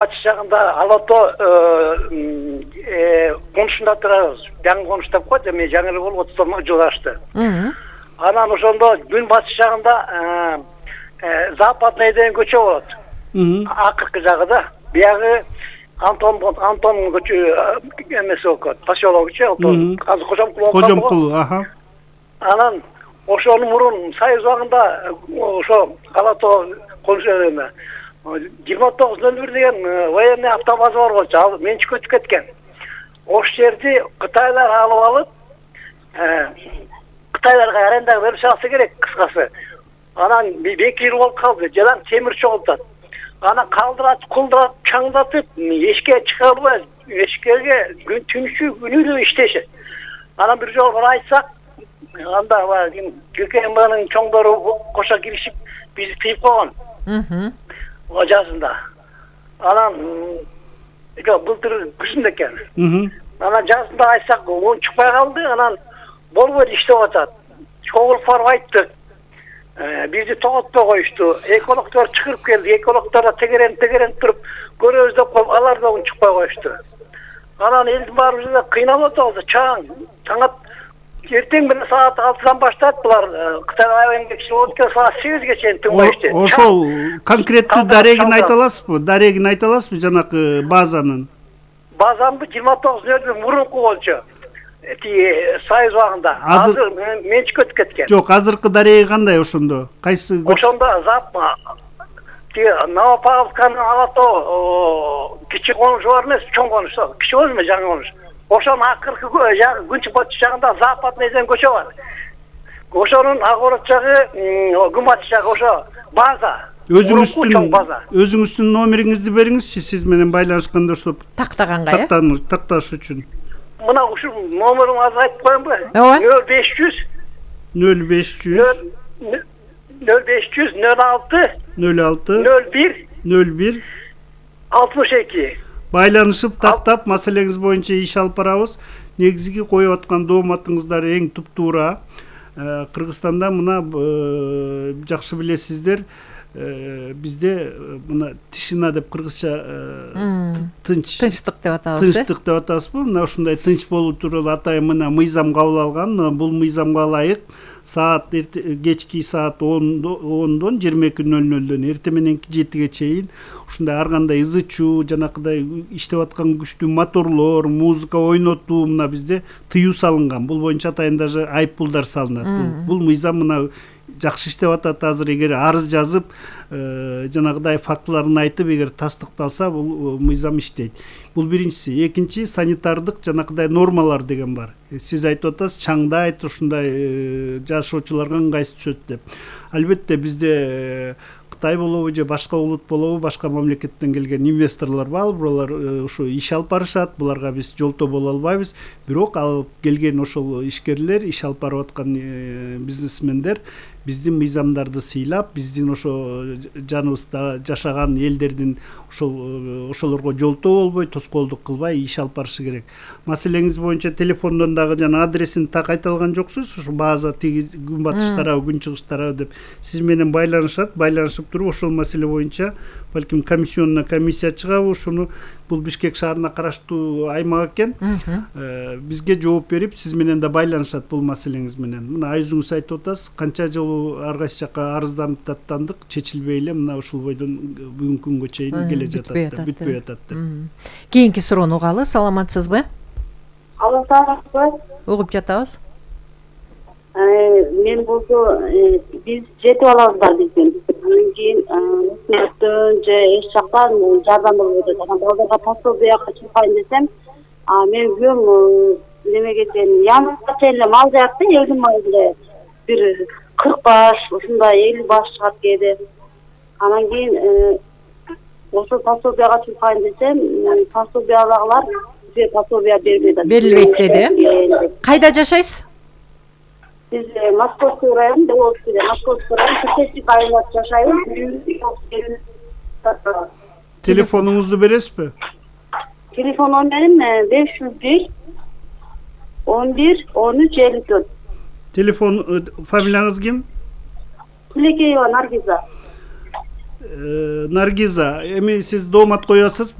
Батыш жагында Алато конушунда турабыз. Жаңы конуш деп коет, эми жаңы эле болуп 30 жыл ашты. Анан ошондо күн батыш жагында западный деген көчө болот. Акыркы жагыда, биягы Антон көчө эмеси болот. Поселок көчө, азыр Кожомкул, аха. Анан ошонун мурун Союз убагында ошо Алато конуш 2901 деген военный автобаза бар болчу, ал менчикке өтүп кеткен. Ош жерди Кытайлар алып алып, Кытайларга аренда берип салса керек, кыскасы. Анан 2 жыл болуп калды, жадан темир чогултат. Анан калдырат, кулдурат, чаңдатып, эшикке чыга албай, эшикке күн түнүшү күнү иштешет. Анан бир жолу айтсак, анда ККМБнын чоңдору кошо киришип, бизди тыйып койгон. Жазында. Анан былтыр күзүндө экен. Анан жазында айтсак, он чыкпай калды. Анан болбойт, иштеп атат. Чогулуп барып айттык. Бизди тоготпой коюшту. Экологдор чыгырып келди. Экологдор тегерен туруп, көрөбүз деп коюп, алар да чыкпай коюшту. Анан элдин баарыбыз да кыйналып атабыз. Чаңат эртең менен саат 6-дан баштап булар Кытай айылында болот экен, саат 8ге чейин түнгө ишти. Ошол конкреттүү дарегин айта аласызбы? Дарегин айта аласызбы жанакы базанын? Базаны 29-нчы мурунку болчу. Союз убагында. Азыр менчикке өтүп кеткен. Жок, азыркы дареги кандай ошондо? Кайсы? Ошондо Новопавловсканын Алато кичи конушу бар эмес, чоң конуш, кичи болуп эмес, жаңы конуш. Ошонун акыркы күнчү батыш жагында западный деген көчө бар. Ошонун агорот жагы, күн батыш жагы ошо база. Өзүңүздүн номериңизди бериңизчи, сиз менен байланышканда ошо тактаганга, такташ үчүн. Мына ушул номерин азыр айтып коеюнбу? 0500 01 62 байланышып тактап маселеңиз боюнча иш алып барабыз. Негизги коюп аткан дооматыңыздар эң туп-туура. Кыргызстанда мына жакшы билесиздер, бизде мына тишина деп кыргызча тынчтык деп атабыз. Тынчтык деп атабызбы? Мына ушундай тынч болуу тууралуу атайын мына мыйзам кабыл алган. Мына бул мыйзамга ылайык саат кечки саат 10-дон 22:00дөн эртең мененки 7-ге чейин ушундай ар кандай ызы чуу, жанакыдай иштеп аткан күчтүү моторлор, музыка ойнотуу мына бизде тыюу салынган. Бул боюнча атайын даже айыппулдар салынат. Бул мыйзам мына жакшы иштеп атат. Азыр эгер арыз жазып, жанагыдай фактыларын айтып, эгер тастыкталса, бул мыйзам иштейт. Бул биринчиси. Экинчи, санитардык жанакыдай нормалар деген бар. Сиз айтып атасыз, чаңдайт, ушундай жашоочуларга ыңгайсыз түшөт деп. Албетте бизде Кытай болобу же башка улут болобу, башка мамлекеттен келген инвесторлор бар, булар ушу иш алып барышат, буларга биз жолтоо боло албайбыз. Бирок алып келген ошол ишкерлер, иш алып барып аткан бизнесмендер биздин мыйзамдарды сыйлап, биздин ошо жаныбызда жашаган элдердин ошолорго жолтоо болбой, тоскоолдук кылбай иш алып барышы керек. Маселеңиз боюнча телефондон дагы жана адресин так айта алган жоксуз? Ушу база тиги күн батыш тарабы, күн чыгыш тарабы деп сиз менен байланышат. Байланышып туруп ошол маселе боюнча балким комиссионна комиссия чыгабы, ушуну бул Бишкек шаарына караштуу аймак экен. Бизге жооп берип, сиз менен да байланышат бул маселеңиз менен. Мына өзүңүз айтып атасыз, канча жолу ар кайсы жакка арызданып даттандык, чечилбей эле мына ушул бойдон бүгүнкү күнгө чейин келе жатат, бүтпөй атат деп. Кийинки суроону угалы, саламатсызбы? Алло, саламатсызбы? Угуп жатабыз. Мен болсо биз жетип алабыз бар биздин. Анан кийин өкмөттөн же эч жактан жардам болуп атат. Анан балдарга пособияга чыкпайын десем, мен күйөөм немеге чейин янга чейин мал жаякты, элдин малы бир 40 баш, ушундай 50 баш чыгат кээде. Анан кийин ошол пособияга чыкпайын десем, пособиядагылар бизге пособия бербейт. Берилбейт деди. Кайда жашайсыз? Биз Московский район, Деволжский, Московский район, Чечевский районунда жашайбыз. Телефонуңузду бересизби? Телефон номерим 501 11 13 54. Телефон, фамилияңыз ким? Тилекеева Наргиза. Наргиза, эми сиз доомат коесуз.